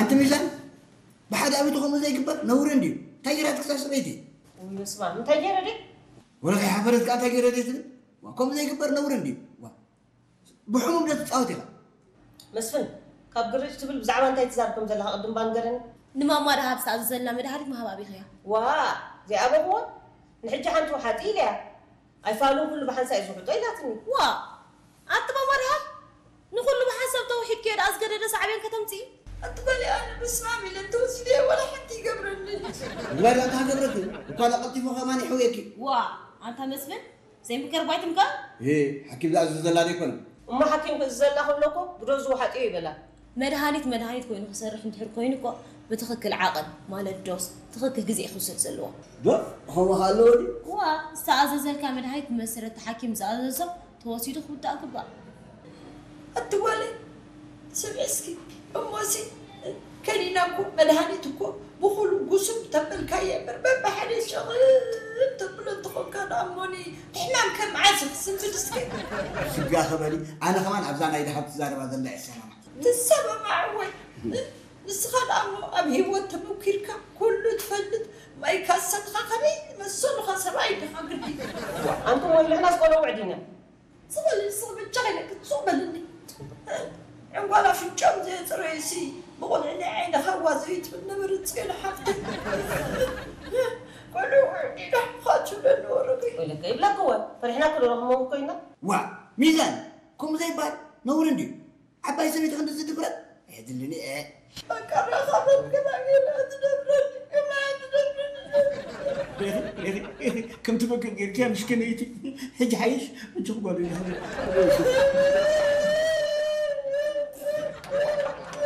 ኣንቲ ሚዛን፣ ብሓደ ኣብቲ ከምኡ ዘይግበር ነውሪ እንድዩ። እንታይ ገይራትኪ እዛ ሰበይቲ? ውይ፣ በስመ ኣብ፣ እንታይ ገይረ ድየ? ወረ ከይሓፈረት ከኣ እንታይ ገይረ ድየ ትብል? ዋ፣ ከምኡ ዘይግበር ነውሪ እንድዩ። ዋ፣ ብሕሙም ዶ ትጻወት ኢኻ? መስፍን፣ ካብ ግርጭ ትብል ብዛዕባ እንታይ ትዛረብ ከም ዘለኻ ቅድም እባ ንገረኒ። ንማማ ደሃብ ዝተኣዘዘልና መድሃኒት ምሃብ ኣቢኽያ። ዋ፣ ዘይኣበኽዎ? ንሕጂ ሓንቲ ውሓጢ ኢለያ። ኣይፋሉን፣ ኩሉ ብሓንሳእ እዩ ዝውሕጦ ኢላትኒ። ዋ፣ ኣቲ ማማ ደሃብ፣ ንኹሉ ብሓንሳብ ተውሒድክዮ ደኣ ዝገደደ ሳዕቤን ከተምጽኢ? ኣቲ ጓለይ፣ ኣነ በስመ ኣብ ኢለ እንተወሲደዮ ዋላ ሓንቲ ይገብረኒ። እዋይ፣ ኣታ ሃገብረኪ፣ እኳ ዳ ቀልጢፉ ከማን ይሕውየኪ። ዋ፣ ኣንታ መስፍን፣ ዘይምከር ባይትምካ? እ፣ ሓኪም ዝኣዘዘላ ዶ ኣይኮነን? እሞ ሓኪም ክእዝዘላ ከሎ እኮ ብዶዝ ውሓጥዮ ይበላ። መድሃኒት መድሃኒት ኮይኑ ክሰርሕ እንድሕር ኮይኑ እኮ ብትኽክል ዓቐን፣ ማለት ዶስ፣ ትኽክል ግዜ እዩ ክውሰድ ዘለዎ። ዶ? ከምኡ ከ ኣለዎ ድዩ? ዋ፣ ዝተኣዘዘልካ መድሃኒት ብመሰረት እቲ ሓኪም ዝኣዘዞ ተወሲዱ ክውዳእ ግባእ። ኣቲ ጓለይ፣ ስምዒ እስኪ፣ እሞሲ ከኒና እኮ መድሃኒት እኮ ብኹሉ ጉስም ተበልካዮ እምበር በብሓደ ሸቕል ተብሎ እንተኾንካ ደኣ እሞኒ ሕማም ከም ዓሲ ክስንብድ እስከ። ሽጋ ክበሊ፣ ኣነ ከማን ኣብዛ ናይ ደሃብ ትዛረባ ዘላ እየ ሰማማዕ። ትሰማማዕ ወይ? ንስኻ ደኣ እሞ ኣብ ህይወት ተመኪርካ ኩሉ ትፈልጥ ማይ ካሰንኻ ከመይ ዝመሰሉኻ ሰብኣይ ዲኻ ግዲ? ኣንቱም ወይ ንሕናስ ቆለውዕ ዲና? ስቕ በሊ፣ ስቕ በሊ፣ ቻይ ኢለኪ፣ ስቕ በልኒ። ዕንጓል ኣፍንጭኦም ዘየፅረዩሲ ብቑልዒ ናይ ዓይኒ ሃዋ ዘይትብል ነበረት ፅዮን ሓፍተይ። ቆልዑ ውዕዲዳ ምዃን ትብለኒ ወረደይ። ወይለከ ይብለክዎ፣ ፈሪሕናኪ ዶ ንኽንመውት ኮይና? ዋ፣ ሚዛን፣ ከምኡ ዘይበሃል ነውሪ እንድዩ። ዓባይ ሰበይቲ ክንድዚ ድፍረት ኣየድልን እየ። በቃ ራኸበን ግና ገና ትደብረኒ፣ ግና ትደብረኒ። ሬኺ፣ ሬኺ፣ ሬኺ፣ ከምቲ በግዕ ጌርኪያ ምስኪነይቲ። ሕጂ ሓይሽ፣ እጅ ክጓሉ ይደኽል።